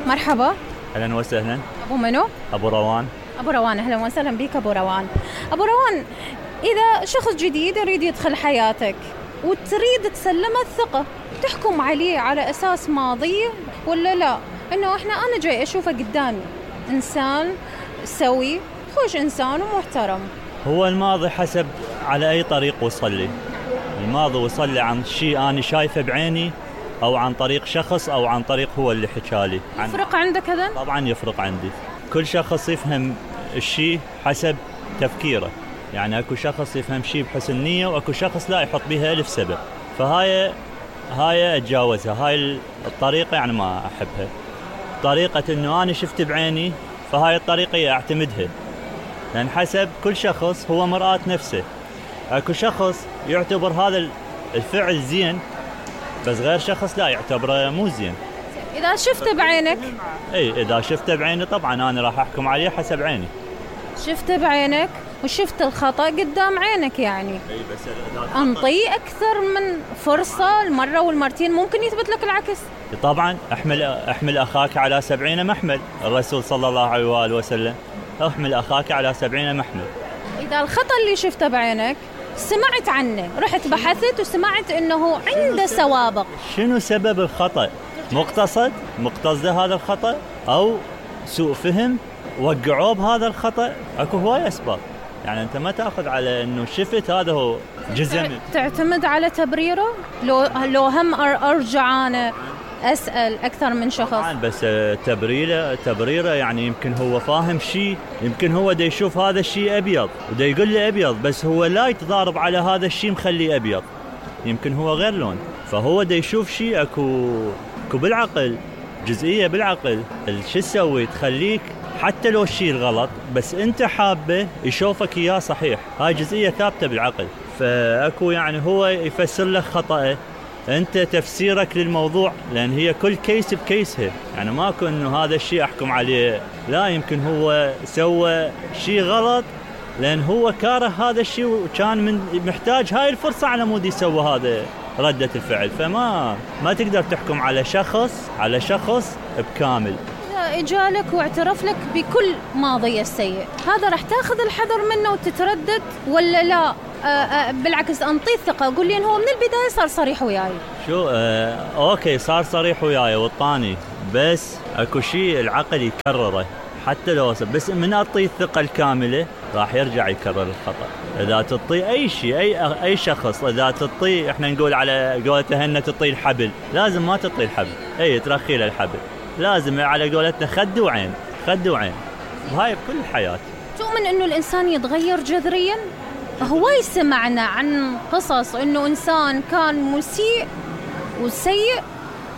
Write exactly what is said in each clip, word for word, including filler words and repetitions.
مرحبا. اهلا وسهلا. ابو منو؟ ابو روان. ابو روان، اهلا وسهلا بك ابو روان. ابو روان، اذا شخص جديد يريد يدخل حياتك وتريد تسلمه الثقة، تحكم عليه على اساس ماضيه ولا لا؟ انه احنا انا جاي اشوفه قدامي انسان سوي، خوش انسان ومحترم. هو الماضي حسب على اي طريق وصل لي. الماضي وصل لي عن شيء انا شايفه بعيني، او عن طريق شخص، او عن طريق هو اللي حكالي. يفرق عندك هذا؟ طبعا يفرق عندي. كل شخص يفهم الشيء حسب تفكيره، يعني اكو شخص يفهم شيء بحسن نية، واكو شخص لا يحط بها الف سبب. فهاي هاي اتجاوزها، هاي الطريقة يعني ما احبها. طريقة انه انا شفت بعيني، فهاي الطريقة اعتمدها، لان حسب كل شخص هو مرآة نفسه. اكو شخص يعتبر هذا الفعل زين، بس غير شخص لا يعتبره مو زين. اذا شفته بعينك؟ اي اذا شفته بعيني طبعا انا راح احكم عليه حسب عيني. شفته بعينك وشفت الخطأ قدام عينك، يعني اي بس انطي اكثر من فرصة، المرة والمرتين ممكن يثبت لك العكس. طبعا احمل احمل اخاك على سبعين محمل، الرسول صلى الله عليه وآله وسلم احمل اخاك على سبعين محمل. اذا الخطأ اللي شفته بعينك سمعت عنه، رحت بحثت وسمعت انه عنده سوابق، شنو سبب الخطأ؟ مقتصد مقتصد هذا الخطأ، او سوء فهم وقعوه بهذا الخطأ؟ اكو هواي اسباب، يعني انت ما تاخذ على انه شفت هذا هو جزء. تعتمد على تبريره؟ لو لو هم ارجع انا اسال اكثر من شخص. طبعا بس تبريره تبريره يعني يمكن هو فاهم شيء، يمكن هو دا يشوف هذا الشيء ابيض ودا يقول لي ابيض، بس هو لا يتضارب على هذا الشيء مخليه ابيض، يمكن هو غير لون. فهو دا يشوف شيء اكو اكو بالعقل، جزئيه بالعقل شو تسوي تخليك حتى لو الشيء الغلط بس انت حابه يشوفك اياه صحيح. هاي جزئيه ثابته بالعقل. فاكو يعني هو يفسر لك خطأه، انت تفسيرك للموضوع، لان هي كل كيس بكيسها، يعني ماكو انه هذا الشيء احكم عليه، لا يمكن هو سوى شيء غلط لان هو كاره هذا الشيء وكان من محتاج هاي الفرصه على مود يسوى هذا ردة الفعل. فما ما تقدر تحكم على شخص على شخص بكامل. إذا اجالك واعترف لك بكل ماضيه السيء، هذا راح تاخذ الحذر منه وتتردد ولا لا؟ آآ آآ بالعكس انطيه الثقه، قول لي انه هو من البدايه صار صريح وياي. شو آه اوكي صار صريح وياي والطاني، بس اكو شيء العقل يكرره حتى لو بس من اعطيه الثقه الكامله راح يرجع يكرر الخطا. اذا تعطي اي شيء اي اي شخص، اذا تعطي احنا نقول على قولتنا هن تعطي الحبل، لازم ما تعطي الحبل، اي ترخي له الحبل، لازم على قولتنا خد وعين خد وعين. وهاي بكل الحياه. تؤمن انه الانسان يتغير جذريا؟ هواي سمعنا عن قصص انه انسان كان مسيء وسيء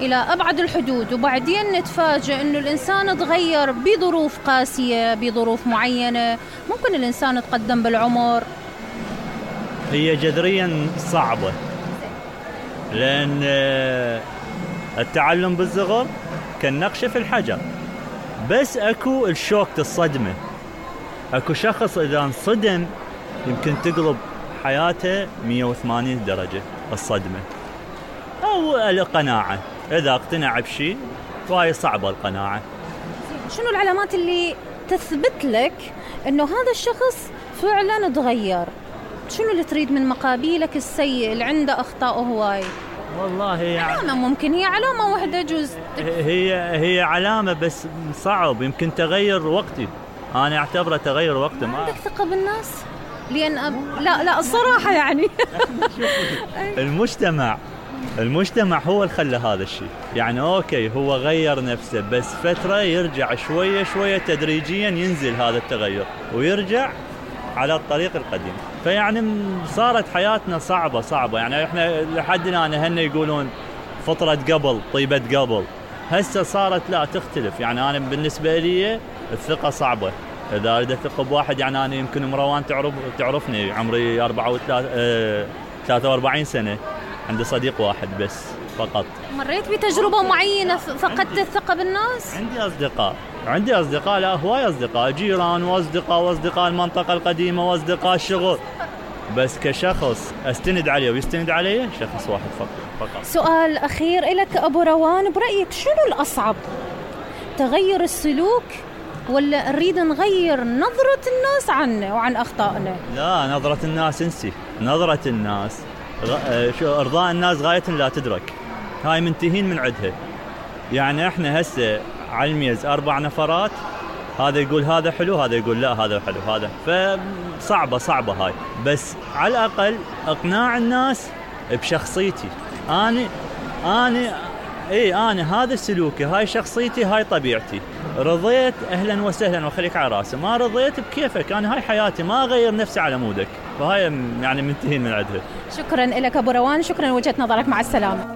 الى ابعد الحدود، وبعدين نتفاجئ انه الانسان تغير بظروف قاسيه، بظروف معينه، ممكن الانسان يتقدم بالعمر. هي جذريا صعبه، لان التعلم بالصغر كالنقش في الحجر، بس اكو الشوك الصدمه. اكو شخص اذا انصدم يمكن تقلب حياته مية وثمانين درجة الصدمة، أو القناعة. إذا اقتنع بشيء فهي صعبة القناعة. شنو العلامات اللي تثبت لك إنه هذا الشخص فعلاً تغير؟ شنو اللي تريد من مقابيلك السيء اللي عنده أخطاء هواي؟ والله يعني علامة، ممكن هي علامة واحدة جزء. هي هي علامة بس صعب، يمكن تغير وقتي، أنا أعتبره تغير وقتي. ما عندك ثقة بالناس؟ لأن أب... لا لا الصراحة يعني المجتمع المجتمع هو اللي خلى هذا الشيء. يعني أوكي هو غير نفسه، بس فترة يرجع شوية شوية تدريجيا ينزل هذا التغير ويرجع على الطريق القديم. فيعني صارت حياتنا صعبة صعبة، يعني احنا لحد الآن هن يقولون فطرة قبل طيبة قبل، هسه صارت لا تختلف. يعني أنا بالنسبة لي الثقة صعبة. إذا أريد أثق بواحد، يعني أنا يمكن مروان تعرف تعرفني، عمري أربعة وثلاث اه ثلاثة وأربعين سنة، عندي صديق واحد بس فقط. مريت بتجربة معينة فقدت الثقة بالناس؟ عندي أصدقاء عندي أصدقاء لا هواي أصدقاء، جيران وأصدقاء وأصدقاء المنطقة القديمة وأصدقاء الشغل، بس كشخص أستند عليه ويستند عليه شخص واحد فقط. سؤال أخير إلك أبو روان، برأيك شنو الأصعب؟ تغير السلوك، ولا نريد نغير نظرة الناس عنا وعن أخطائنا؟ لا، نظرة الناس انسي. نظرة الناس غ... شو ارضاء الناس غاية لا تدرك، هاي منتهين من عدها. يعني احنا هسه على الميز اربع نفرات، هذا يقول هذا حلو، هذا يقول لا هذا حلو، هذا فصعبة صعبة هاي. بس على الأقل اقناع الناس بشخصيتي أنا أنا اي أنا هذا سلوكي، هاي شخصيتي، هاي طبيعتي. رضيت أهلا وسهلا وخليك على راسي، ما رضيت بكيفك، أنا هاي حياتي، ما أغير نفسي على مودك. فهاي يعني منتهين من عدها. شكرا لك أبو روان، شكرا لوجهة نظرك، مع السلامة.